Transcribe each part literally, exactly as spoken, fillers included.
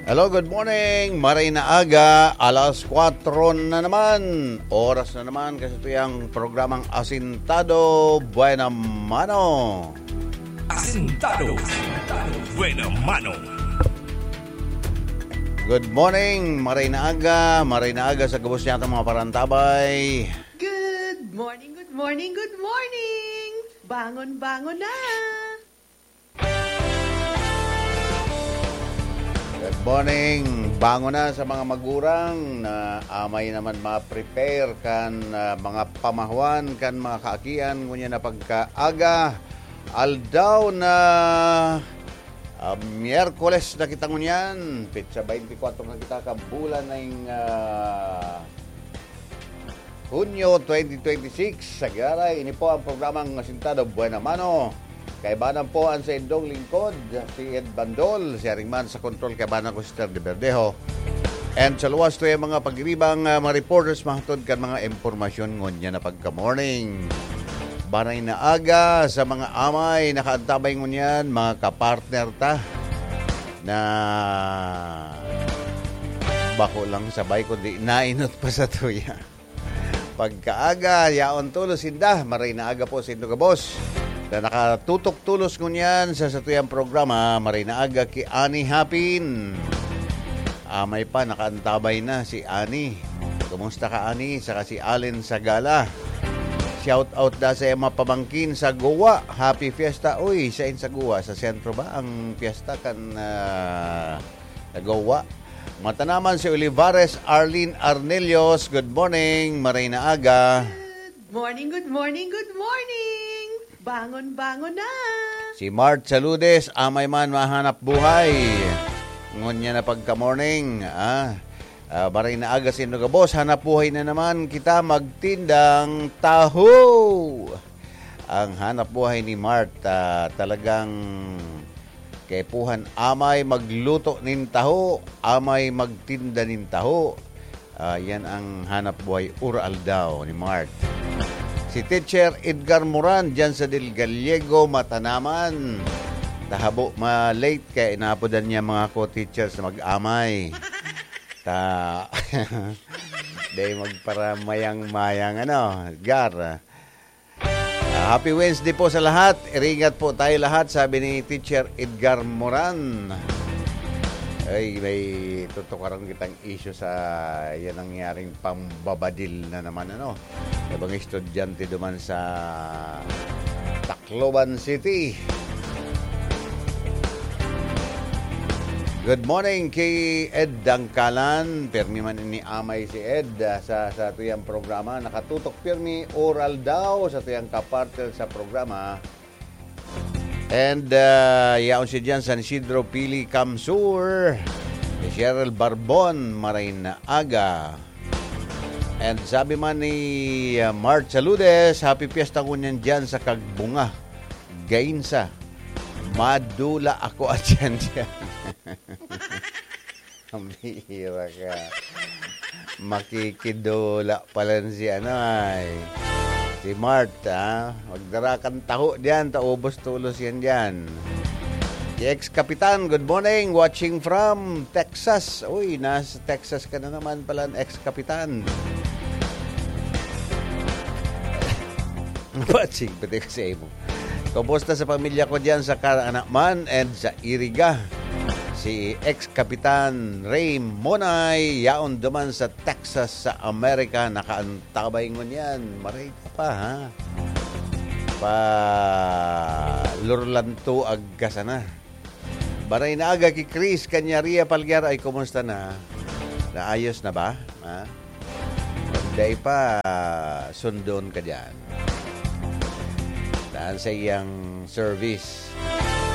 Hello, good morning. Maray na aga, alas kwatro na naman. Oras na naman kasi ito yung programang Asintado Buena Mano. Asintado Buena Mano. Good morning, maray na aga, maray na aga sa gabos niya mga parantabay. Good morning, good morning, good morning. Bangon, bangon na. Good morning. Bangon na sa mga magurang na amay naman ma-prepare kan, ah, mga pamahuan, kan mga kaakian, ngunyan na pagkaaga. Aldaw na, ah, Miyerkules na kita ngunyan. Petsa twenty-four na kita ka bulan na yung, ah, Hunyo twenty twenty-six. Sa Garay, ini po ang programang Asintado Buena Mano. Kaibanan po ang sa indong lingkod, si Ed Bandol, si Aring Man sa kontrol, kaibanan ko si Ter de Verdejo. And sa luwas to yung mga pagiribang, ah, mga reporters, mahatod kan mga impormasyon ngunyan na pagka-morning. Banay na aga sa mga amay, nakaantabay ngunyan, mga kapartner ta, na bako lang sabay, kundi nainot pa sa tuya. Pagkaaga, yaon tulos sinda. Maray na aga po sa indo gabos na nakatutok tulos ngunyan sa satuyang programa, Maray na Aga ki Ani Hapin. Amay pa, nakaantabay na si Ani. Kumusta ka, Ani? Saka si Allen Sagala. Shout out da sa mga pamangkin sa Goa. Happy Fiesta. Uy, sa in sa Goa? Sa sentro ba ang fiesta kan, ah, sa Goa? Matanaman si Olivares Arlene Arnelios. Good morning, maray na aga. Good morning, good morning, good morning. Bangon, bangon na. Si Mart Saludes, amay man mahanap buhay. Ngunyan na pagka-morning, ah, ah, maray na aga sa indo gabos, hanap buhay na naman kita magtindang taho. Ang hanap buhay ni Mart, ah, talagang kaipuhan, amay magluto nin taho, amay magtinda nin taho. Ah, yan ang hanap buhay ura-aldaw ni Mart. Si Teacher Edgar Moran, dyan sa Del Gallego, Matanaman. Tahabo, ma-late, kaya inapodan niya mga co-teachers na mag-amay. Ta, day magparamayang-mayang, ano, Gar. Ah, happy Wednesday po sa lahat. Iringat po tayo lahat, sabi ni Teacher Edgar Moran. Ay, may tutukaran kitang issue sa yan nangyaring pambabadil na naman, ano. Ibang estudyante duman sa Tacloban City. Good morning kay Ed Dangkalan. Pirmi man ini amay si Ed, ah, sa, sa tuyang programa. Nakatutok pirmi, oral daw, sa tuyang kapartner sa programa. And, ah, yaon siya dyan, San Isidro, Pili, Kamsur. Si Cheryl Barbon, maray na aga. And sabi man ni, ah, Mart Saludes, happy fiesta ngunyan dyan sa Kagbunga, Gainsa. Madula ako at yan dyan. Ang bihira ka. Makikidula pala si ano ay. Si Mart, ha? Magdara kang taho diyan, taubos tulos yan diyan. Si ex-kapitan, good morning. Watching from Texas. Uy, nasa Texas ka na naman pala, ex-kapitan. Watching, pati kasi mo. Kumusta sa pamilya ko diyan sa Caranaman and sa Iriga? Si ex-kapitan Ray Monay, yaon duman sa Texas, sa Amerika, nakaantabay ngunyan. Maray ka pa, ha? Pa lurlanto agka sana. Baray na aga ki Chris Canyaria Palguero. Ay, kumusta na? Naayos na ba? Ha? Pag dai pa, sundon ka dyan. Daan sa iyang service.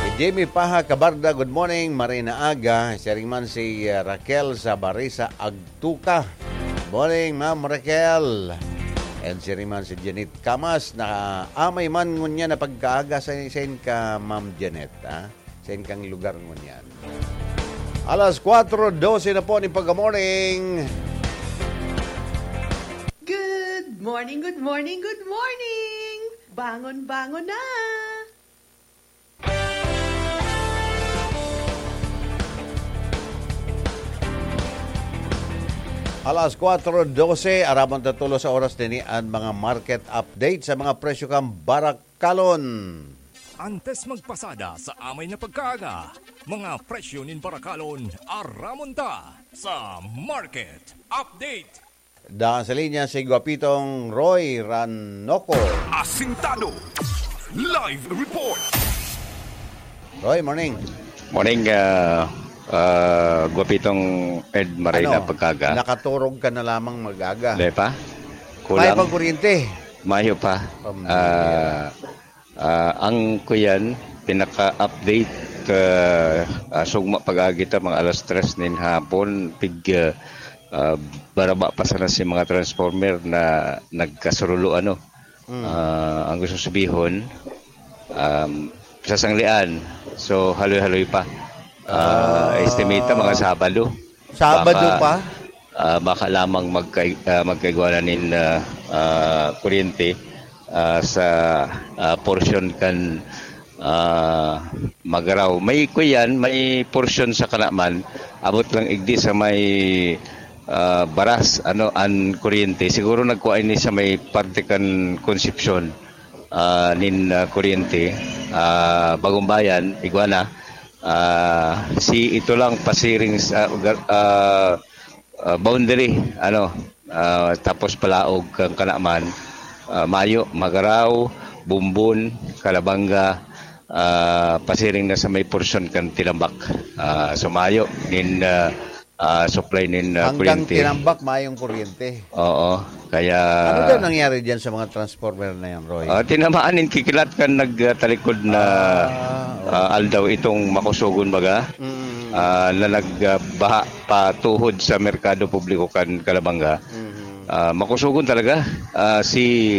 Si Jimmy Paha Cabarda, good morning. Maray na aga. Siring man si, uh, Raquel sa Barisa Agtuca. Morning, Ma'am Raquel. And siring man si Janet Camas na amay man ngunyan na pagkaaga sa, sa ka, Ma'am Janet, ha? Sa inyong lugar ngunyan. Alas kwatro dose na po ni pagka-morning. Good morning, good morning, good morning! Bangon, bangon na! Alas kwatro dose, aramon ta tulos sa oras nini an mga market update sa mga presyo kan barakalon. Antes magpasada sa amay na pagkaaga, mga presyo nin barakalon, aramon ta sa market update. Daan sa linya si Guapitong Roy Ranoco. Asintado. Live report. Roy, morning. Morning, ah, ah, Guapitong Ed, maray Ano? na pagkaga. Nakaturog ka na lamang mag-aga. Di pa? Kulang. May pang kuryente. Mayo pa. Pambira. Ah, ah, ang kuyan, pinaka-update, ah, ah, sugma pag-agi ta, mga alas tres nin hapon, pig, ah, ah, baraba pa sana si mga transformer na nagkasurulo, ano. Mm. Ah, ang gusto sabihon, um, sa sanglian. So, haloy-haloy pa. Ah, Ah. estimate na mga Sabado. Sabado Baka, pa? ah, baka lamang magkay-, ah, magkaigwa na nin, ah, ah, kuryente, ah, sa, ah, portion kan, ah, Magaraw. May kuyan, may portion sa Kanaman. Abot lang igdi sa may, ah, Baras, ano, an kuryente. Siguro nagkuha ini sa may parte kan Concepcion, ah, nin, ah, kuryente. Ah, Bagong Bayan, igwa na. Ah, si ito lang pasiring sa, ah, ah, boundary, ano, ah, tapos palaog kan Kanaman, ah, mayo, Magaraw, Bumbon, Calabanga, ah, pasiring na sa may porsyon kan Tinambak. Ah, so mayo nin, ah, ah, supply nin, ah, Hanggang kuryente. Tinambak, mayong kuryente. Oo, kaya Ano daw nangyari diyan sa mga transformer na yan, Roy? Ah, tinamaan nin kikilat kan nagtalikod na, Ah, oo. ah, aldaw itong makusogon baga, Mm. ah, na nagbaha pa tuhod sa merkado publiko kan Calabanga. Mhm. Ah, makusogon talaga, ah, si,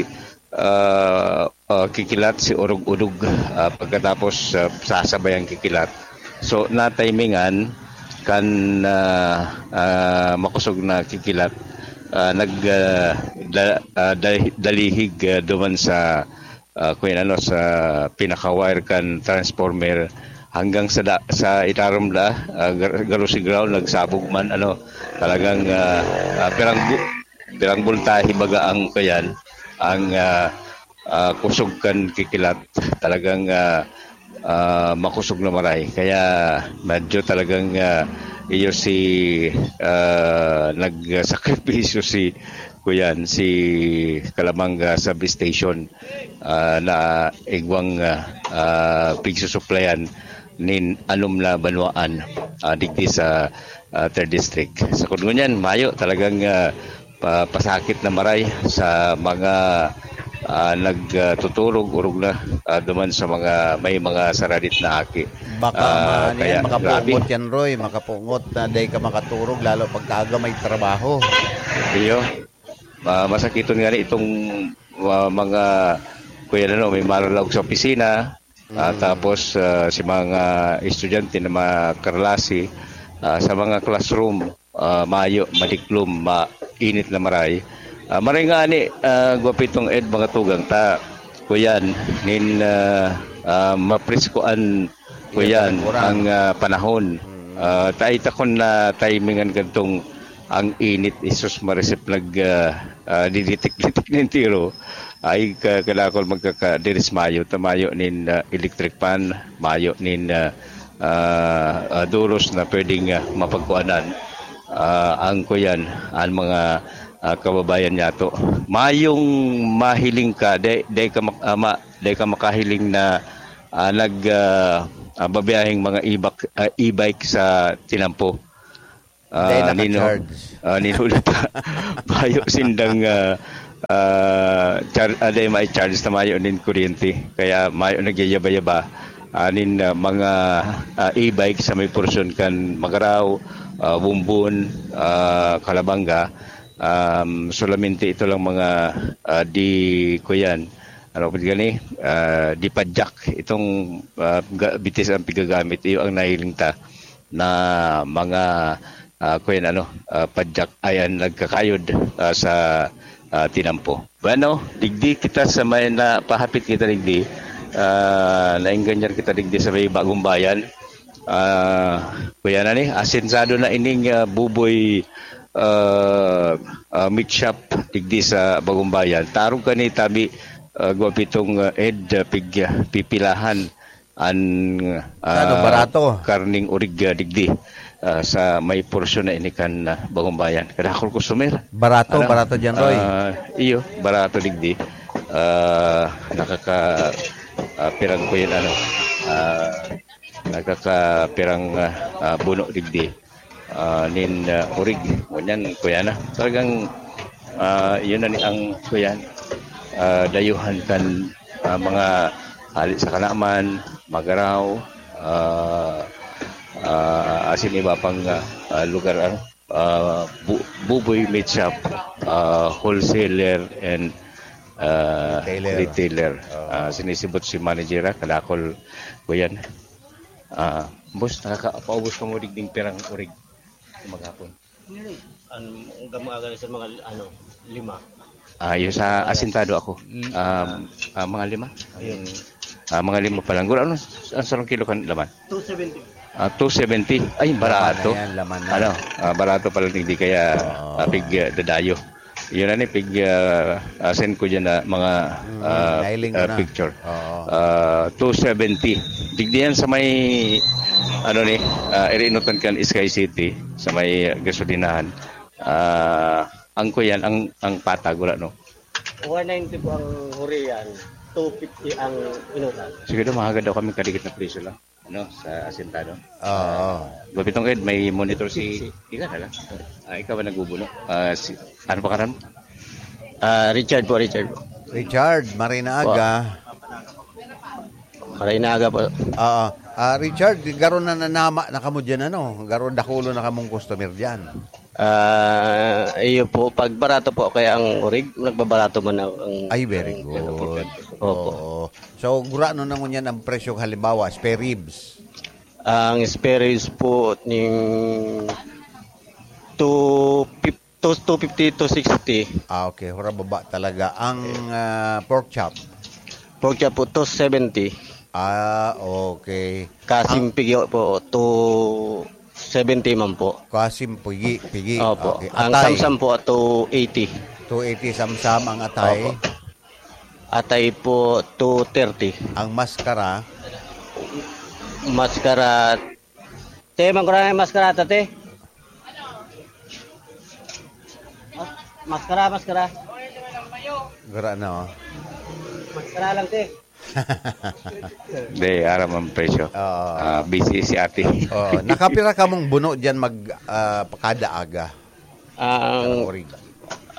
ah, ah, kikilat, si urog-udog, ah, pagkatapos, ah, sasabayang kikilat. So, natimingan kan, ah, ah, makosog na kikilat, ah, nag, ah, da-, ah, da-, dalihig, ah, duman sa, ah, kung ano, sa pinaka-wire kan transformer hanggang sa da-, sa itarom da, ah, gar-, garo si ground, nagsabog man, ano, talagang, ah, ah, pirang bu-, pirang boltahe baga ang, kuyan, ang, ah, ah, kusog kan kikilat, talagang, ah, ah, makusog na maray. Kaya medyo talagang, ah, iyo si, ah, nagsakripisyo si, kuyan, si Calamanga Substation, ah, na igwang, ah, ah, pigsusuplayan nin anom na banwaan, ah, digdi sa, ah, Third District. Sa kun ngunyan, mayo talagang, ah, pa-, pasakit na maray sa mga, ah, nagtuturog, orog na, ah, duman sa mga, may mga saradit na aki. Baka Ah, man kaya yan, makapungot grabe. yan, Roy. Makapungot na dai ka makaturog, lalo pagkaaga may trabaho. Iyo. Ma-, masakiton nga ni itong, ah, mga, kuya, ano, may maralaog sa opisina, ah, Mm. tapos, ah, si mga estudyante na mga karlasi, ah, sa mga classroom, ah, mayo, madiklom, mainit na maray. Ah, maray nga ani, ah, Guapitong Ed, mga tugang ta, kuyan, nin, ah, ah, mapresko an, Iya, kuyan, panagmura. ang, ah, panahon. Mm. Ah, tayo takon na timingan kadtong ang init, isus marisip nag, ah, ah, diditik-ditik na entero. Ay, ka-, kadakol magkakadiris mayo, ta mayo nin, ah, electric fan, mayo nin, ah, ah, ah, duros na pwedeng, ah, mapagkuanan. Ah, ang kuyan, ang mga, ah, kababayan niyato. Mayong mahiling ka, dai, dai ka mak-, ah, ma-, dai ka makahiling na, ah, nag, ah, ah, babiyaheng mga ibak-, ah, e-bike sa tinampo. Dai Ah, nino-, naka-charge. ah, ninuli ta. Mayo sindang, ah, ah, char-, ah, dai may charge ta mayo nin kuryente. Kaya mayo nagyayaba-yaba. Anin, ah, mga, ah, e-bike sa may porsyon kan Magaraw, ah, Bumbon, ah, Calabanga. Um, solamente ito lang mga, ah, di, kuyan, ano pa gani, ah, di padyak. Itong, ah, ga-, bitis ang pigagamit, iyo ang nahiling ta na mga, ah, kuyan, ano, ah, padyak ay ang nagkakayod, ah, sa, ah, tinampo. Bueno, digdi kita sa may na, pahapit kita digdi, ah, naengganyan kita digdi sa may Bagong Bayan. Ah, kuya na ni, asensado na ining, ah, buboy, ah, ah, meat shop digdi sa Bagumbayan. Tarong kani tabi, ah, gwa pitong, ah, ed, ah, pig-, ah, pipilahan an, Sa ano, ah, barato? karning orig, ah, digdi, ah, sa may porsyon na ini kan, ah, Bagumbayan. Kadakol customer. Barato, Ano? barato dyan, Roy. Ah, iyo, barato digdi. Ah, nakaka-, ah, pirang ko yun, ano, ah, nakakapirang, ah, ah, buno digdi, ah, nin, ah, orig. Ngunyan, kuya na. Talagang, ah, yun na ni ang, kuya, ah, dayuhan kan, ah, mga hali sa Kanaman, Magarao, ah, ah, asin iba pang, ah, ah, lugar, ano, ah, Bu-, Buboy Meat Shop, ah, wholesaler and, ah, Retailer. retailer. Oo. Ah, sinisibot si manager, ah, kadakol ko yan. Ah, boss, nakakapaubos ka mo digding pirang orig maghapon? Ano, ang gamaga sa mga, ano, lima. Ah, yung sa asintado ako. Mm. Um, ah, mga lima? Ayun. Ah, mga lima pa lang. Guro, ano, ang sarong kilo kan laman? Two seventy. Ah, two seventy. Ay, barato. Laman na yan, laman na. Ano, ah, barato pala, hindi kaya, Oo. ah, pig, ah, dadayo. Yun na ni, pig, ah, ah, send ko dyan na mga, Mm, ah, nailing ko ah, na. picture. Oo. Ah, two seventy. Digdi yan sa may, ano ni, ah, irinutan kan Sky City, sa may gasolinahan. Ah, ang kuyan, ang, ang patag, wala, no? One ninety po ang hurian, two fifty ang inutan. Sige daw, mahagad daw kami kadikit na presyo lang. Ano, sa asintado? Oo. Gupitong Ed, may monitor si, ikaw na lang. Ah, ikaw ba nagbubuno? Ah, si, ano pa karan mo? Ah, Richard po, Richard po. Richard, maray na aga. Maray na aga po. Oo. Ah, Richard, garo na nanama na kamo dyan, ano? Garo dakulo na kamong customer dyan. Ah, iyo po, pag barato po kaya ang urig, nagbabarato man ang, ang Ay, very ang good. Opo. Oo. So, gurano na ngunyan ang presyo, halimbawa, spare ribs? Ang spare ribs po ning two fifty, two fifty, two sixty. Ah, okay. Hura baba talaga. Ang, ah, pork chop? Pork chop po, two seventy. Ah, okay. Kasim Ang pigi po, two seventy man po. Kasim pigi, pigi. Opo. Okay. Ang Atay? Samsam po, two eighty. Two eighty samsam ang atay. Opo. Atay po, two thirty. Ang maskara? Maskara. Te, mangkura na yung maskara, ta, te. Maskara, maskara. Gara na, oh. Maskara lang, te. Hindi, aram ang presyo. Oo. Ah, busy si ate. Oo. Nakapira kamong buno dyan mag, ah, kada aga? Ang Karang orig.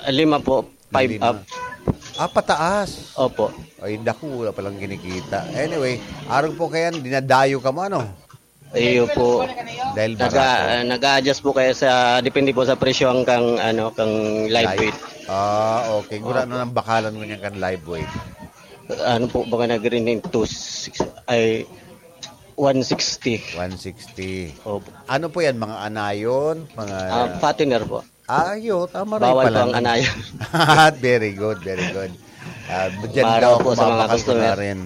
Lima po, five Lima. Up. Ah, pataas. Opo. Ay, daku, wala palang kinikita. Anyway, arog po kayan, dinadayo ka mo, ano? Iyo po. Dahil Naga-, barato. ah, nag-a-adjust po kayo sa, depende po sa presyo ang kang, ano, kang live Live. weight. Ah, okay. Gura Opo. na ng bakalan ngunyan kan live weight. Ano po, baka nag-rin yung two six, ay, one sixty. One sixty. Opo. Ano po yan? Mga anayon? Mga Ah, fattener po. Ayo, tama rin Bawal pala po ang nun. anayon. Very good, very good. Ah, dyan Para daw po sa mga mapapakal ko na customer. rin.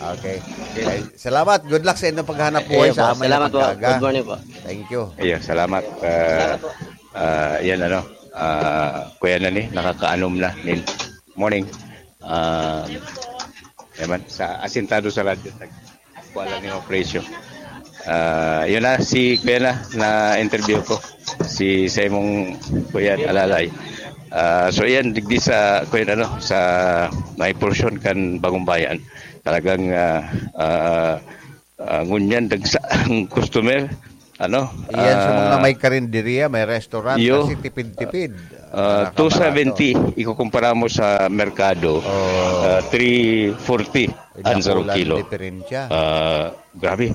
Okay. Okay. Ay, salamat. Good luck sa inyong paghanap buhay Ayun sa po. amin na Salamat po. pagkaga. Good morning po. Thank you. Ayun, salamat. Ah, Salamat po. ah, yan ano, ah, kuya na ni, nakakaanom na. Nin-, morning. Ah, naman, sa asintado sa radyo. Wala ni presyo. Ah, yun na, si kuya na, na-interview ko. Si, sa imong kuya, alalay. Ah, so yan, digdi sa, kuya, ano, sa may portion kan Bagong Bayan. Talagang, ah, ah, ah, ngunyan, dagsa ang customer. Ano? Iyan sa mga Ah, may karinderya, may restaurant, iyo. kasi tipid-tipid. Ah, Nakakabarato. two seventy, ikukumpara mo sa merkado, Oh. ah, three forty Ay, ang sarong naku, kilo. lang diferensya. Ah, grabe.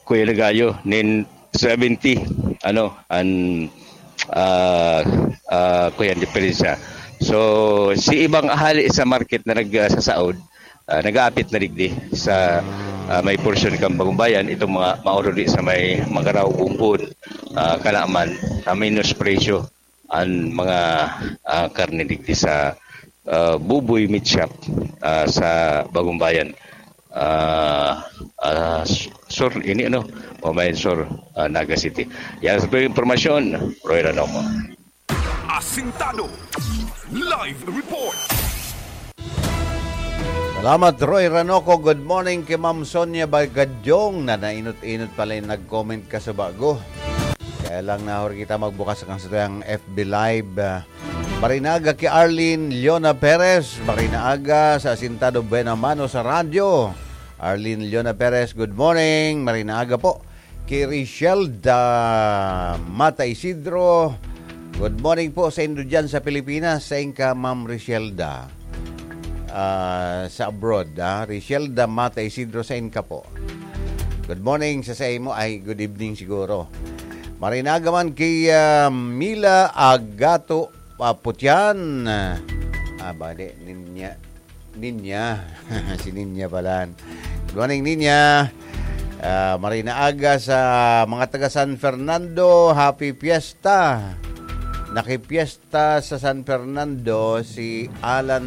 Kuya Ligayo, nin seventy, ano, an, ah, ah, kuya, diferensya. So, si ibang ahali sa market na nagsasaod, ah, nag-aapit na digdi sa, ah, may portion kan Bagumbayan, itong mga mauruli sa may Magarao, Bumbon, ah, Kalaman, ah, minus presyo. An mga, ah, karne digdi sa, ah, Buboy Meat Shop, ah, sa Bagumbayan. Ah, ah, Sur, ini ano, Pamayan Sur, ah, Naga City. Yan sa mga impormasyon, Roy Ranomo. Asintado. Live report. Salamat, Roy Ranoco. Good morning kay Ma'am Sonia Bagadyong na nainot-inot pala yung nag-comment ka sa bago. Kaya lang nahor kita magbukas ang satuyang F B Live. Ah, marinaaga kay Arlene Leona Perez. Marinaaga sa Asintado Buena Mano sa radyo. Arlene Leona Perez, good morning. Marinaaga po. Kay Richelda Mata Isidro. Good morning po sa indo dyan sa Pilipinas. Sain ka, Ma'am Richelda? Ah, sa abroad, ah. Richelda Mata Isidro, sain ka po? Good morning sa, sa imo. Ay, good evening siguro. Marinaaga man kay, ah, Mila Agato Paputian. Ah, ba, di, ninya. Ninya. Si Ninya pala. Good morning, Ninya. Ah, marinaaga sa mga taga San Fernando. Happy Fiesta. Nakipiesta sa San Fernando si Alan,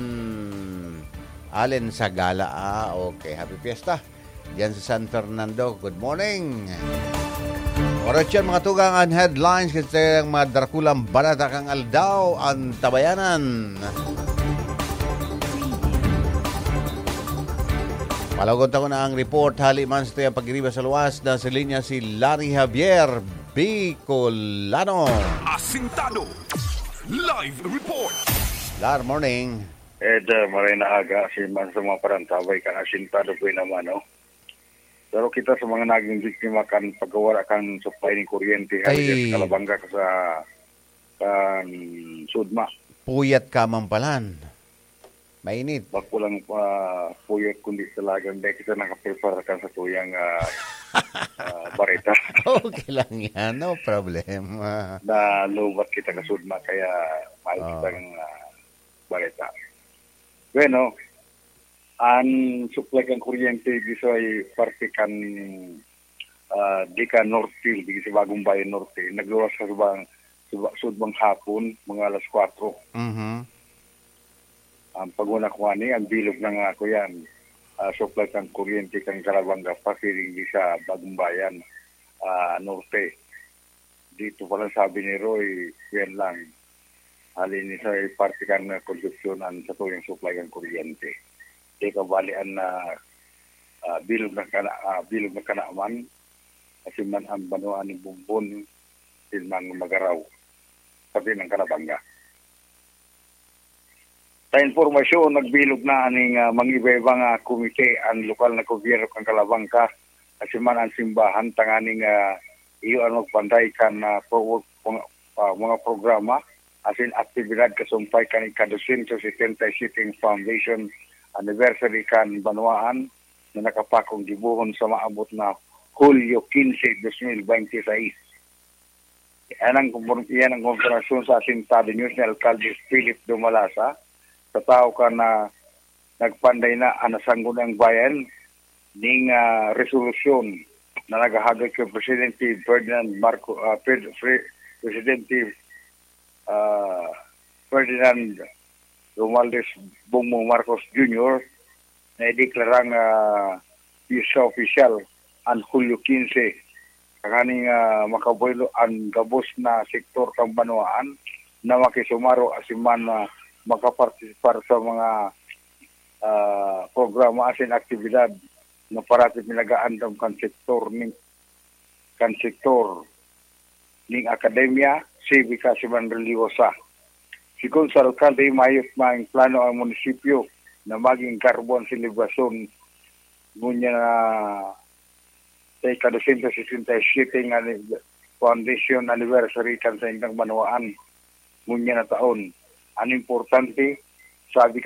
Allen Sagala. Ah, okay. Happy Fiesta. Diyan sa San Fernando. Good morning. Oras yan, mga tugang, ang headlines kasi ang mga drakulang balata kan aldaw, ang tabayanan. Palagot ako na ang report. Hali man sa tuyang pagiriba sa luwas na sa linya si Larry Javier, Bicolano. Asintado. Live report. Lar, morning. Ed, uh, maray na aga, si man sa mga parantabay kan Asintado po naman, no? Pero kita sa mga naging biktima kan pagkawala kan supply ning kuryente, Ay. Halos sa Calabanga ka sa, kan Sudma. Puyat ka man palan. Mainit. Bako lang pa, puyat kundi talagang dahil kita nakaprepara kan sa tuyang, ah, ah, bareta. Okay lang yan. No problem. Ah. Na lubat kita ka Sudma, kaya may Oo. kitang, ah, bareta. Bueno, ang supply kan kuryente, di sa parte kan, ah, di ka Northfield, di sa Bagong Bayan Norte, nagluwas sa Subang, Suba-, Sudmang hapon, mga alas kwatro. Mhm. Ang paguna ko ani, ang bilog na nga ako yan. Ah, supply kan kuryente kan Calabanga, pasiring di sa Bagong Bayan, ah, Norte. Dito pala sabi ni Roy, yan lang. Hali ni sa parte kan, ah, konstruksyonan sa tuyang supply kan kuryente. Di ka bali an, ah, ah, bilog na kana-, ah, bilog na kanaman, kasi man ang banwa ni Bumbon, din man magaraw. Sabi ng Kalabanga. Sa impormasyon, nagbilog na aning, ah, mangiba-iba nga komite ang lokal na gobyerno kan Kalabanga, kasi man ang simbahan, tanganing, ah, iyo ang magpanday kan, ah, pro-, mga, ah, mga programa, asin aktibidad kasumpay kan ika-dosyentos setenta y siete foundation anniversary kan banwaan na nakapakong gibohon sa maabot na Hulyo quince, dos mil binte y seis. Iyan ang kumpor-, iyan ang kumpirmasyon sa Asintado News ni Alkalde Philip Dumalasa, sa tawo ka na nagpanday na ang nasanggunang bayan ning, ah, resolusyon na naghahagad kay Presidente Ferdinand Marco, ah, Fred-, Fre-, Presidente, ah, Ferdinand Romualdez Bongbong Marcos Junior na ideklarang, ah, Fiesta Oficial an Hulyo quince, tanganing, ah, makabuelo an gabos na sektor kan banwaan na makisumaro asin man, ah, makapartisipar sa mga, ah, programa asin aktibidad na parati pinag-aandam kan sektor ni, kan sektor ning akademya, sibika asin man relihiyosa. Sigon sa alkalde, mayot maing plano ang munisipyo na maging karbo ang selebrasyon ngunyan na sa ika-dosyentos sesenta y siyete nga ani-, foundation anniversary kan saindang banwaan ngunyan na taon. Ang importante, sabi kan